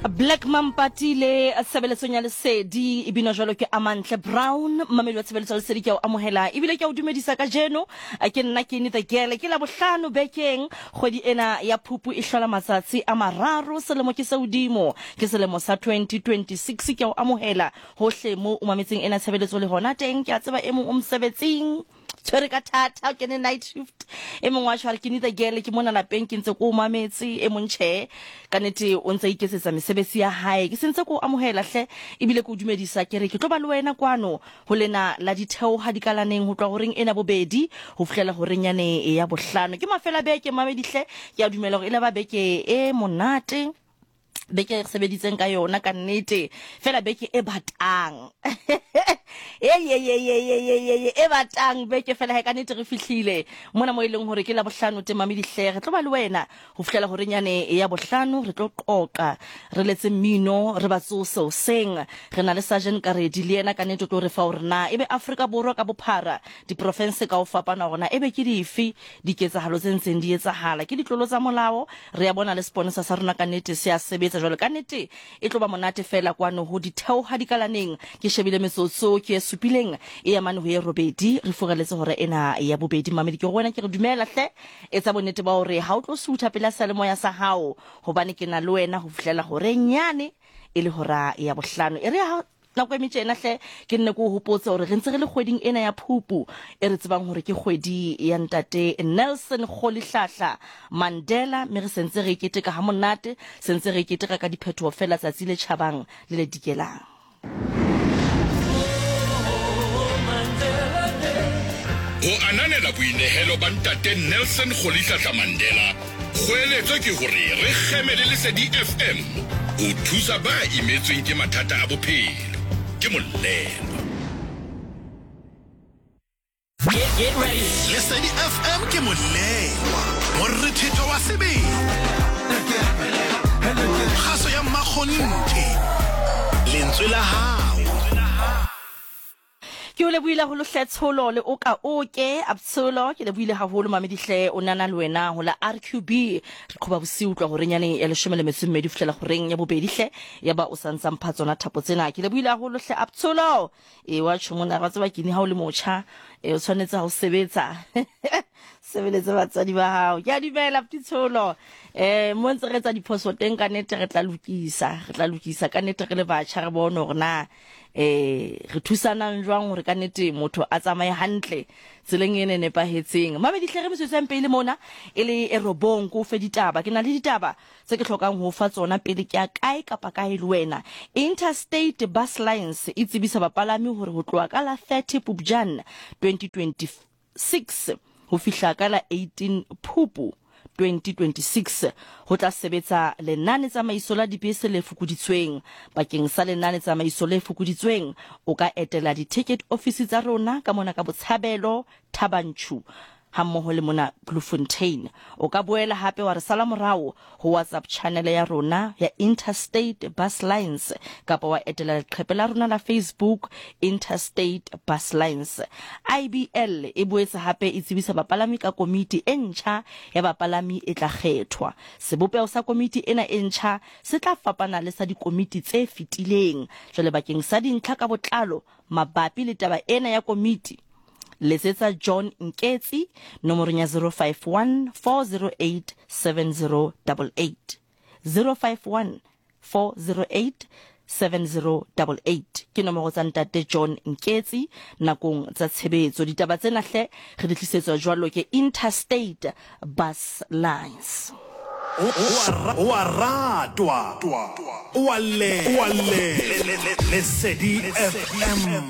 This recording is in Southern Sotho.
Black Mampatile tshebeletsong ya lesedi e binwa jwalo ke Amantle Brown. Mmamedi wa tshebeletso ya lesedi, ke a o amohela ebile ke a o dumedisa kajeno. Ke nna Kenny the Girl. Ke Labohlano bekeng, kgwedi ena ya Phupu e hlola matsatsi a mararo, selemo ke se hodimo, ke selemo sa 2026. Ke a o amohela hohle moo o mametseng ena tshebeletso le hona teng. Ke a tseba e mong o mosebetsing, tshwere ka thata, o kene night shift. E mongwe wa tshware ke neither girl, ke mona lapeng ke ntse ko o mametse. E mong tjhe, ka nete o ntse a iketsetsa mesebetsi ya hae. Ke sentse ko o amohela hle, ebile ke o dumedisa, ke re ke tlo ba le wena kwano ho lena la ditheoha dikalaneng ho tloha horeng ena bobedi ho fihlela horeng yane ya bohlano. Ke mafela beke mamedi hle, ke a dumela hore e la ba beke e monate, beke e re sebeditseng ka yona ka nnete fela, beke e batang e batang beke fela he. Ka nnete re fihlile mona mo e leng hore ke la bohlano temame dihle, re tlo ba le wena ho fihlela horeng yane ya bohlano. Re tlo qoqa, re letse mmino, re ba tsose hoseng. Re na le Sergeant Karedi le yena ka nnete o tlo re fa hore na ebe Afrika Borwa ka bophara, diporofense ka ho fapana hore na ebe ke dife diketsahalo tse ntseng di etsahala, ke ditlolo tsa molao. Re ya bona le seponesa sa rona ka nnete se a sebetsa jwale. Ka nnete e tlo ba monate fela kwano ho ditheoha dikalaneng. Ke shebile metsotso ke e supileng e ya mane ho e robedi, re furaletse hora ena ya bobedi. Mamedi, ke go wena ke re dumela hle, etsa bonnete ba hore ha o tlo sutha pela seyalemoya sa hao, hobane ke na le wena ho fihlela horeng yane e le hora ya bohlano. E re ha nako e metjena hle ke nne ke o hopotse hore re ntse re le kgweding ena ya Phupu, e re tsebang hore ke kgwedi ya ntate Nelson Rolihlahla Mandela, mme re sentse re e keteka ha monate, sentse re e keteka ka diphethoho fela tsatsi le tjhabang le le dikelang. Ho ananela boinehelo ba Ntate Nelson Rolihlahla Mandela, kgoeletso ke hore re kgeme le Lesedi FM ho thusa ba imetsweng ke mathata a bophelo. Ke Mollelwa. Lesedi FM ke Mollelwa, morethetho wa sebele, kgaso ya mmakgonthe, lentswe la hao. Ke o lebohile haholo hle Tsholo le oka oke Abtsholo, ke lebohile haholo mamedi hle, o nana le wena ho la RQB. Re qhoba bosiu utlwa horeng yane ya leshome le metso e mmedi ho fihlela horeng ya bobedi hle, ya ba o sa ntsa mpha tsona thapo tsena. Ke lebohile haholo hle Abtsholo. E wa tjho mona, wa tseba kini ha o le motjha e o tshwanetse ha o sebetsa sebeletse batswadi ba hao. Ke a dumela Ptitsholo, mo ntse re etsa diphoso teng, ka nnete re tla lokisa, re tla lokisa ka nnete re le batjha, re bone hore na re thusanang jwang hore ka nnete motho a tsamaye hantle tseleng e ne nepahetseng. Mamedi hle, re metsotso ya mpele mona e le e robong, ke o fe ditaba. Ke na le ditaba tse ke hlokang ho o fa tsona pele ke ya kae kapa kae le wena. Interstate Bus Lines e tsebisa bapalami hore ho tloha ka la 30 Pupjane 2026 ho fihla ka la 18 Phupu 2026 ho tla sebetsa lenane-tsamaiso la dibese le fokoditsweng. Bakeng sa lenane-tsamaiso le fokoditsweng, o ka etela di-ticket ofisi tsa rona ka mona ka Botshabelo, Thaba Nchu hammoho le mona Bloemfontein. O ka boela hape wa re sala morao ho WhatsApp channel ya rona ya Interstate Bus Lines kapa wa etela leqhepe la rona la Facebook, Interstate Bus Lines. IBL e boetse hape e tsebisa bapalami ka komiti e ntjha ya bapalami e tla kgethwa. Sebopeho sa komiti ena e ntjha se tla fapana le sa dikomiti tse fetileng. Jwale bakeng sa dintlha ka botlalo mabapi le taba ena ya komiti, letsetsa John Nketsi nomorong ya 051 408 7088, 051 408 7088 ke nomoro tsa ntate John Nketsi nakong tsa tshebetso. Ditaba tsena hle re di tlisetswa jwalo ke Interstate Bus Lines. O a ratwa, o a llelwa. Lesedi FM.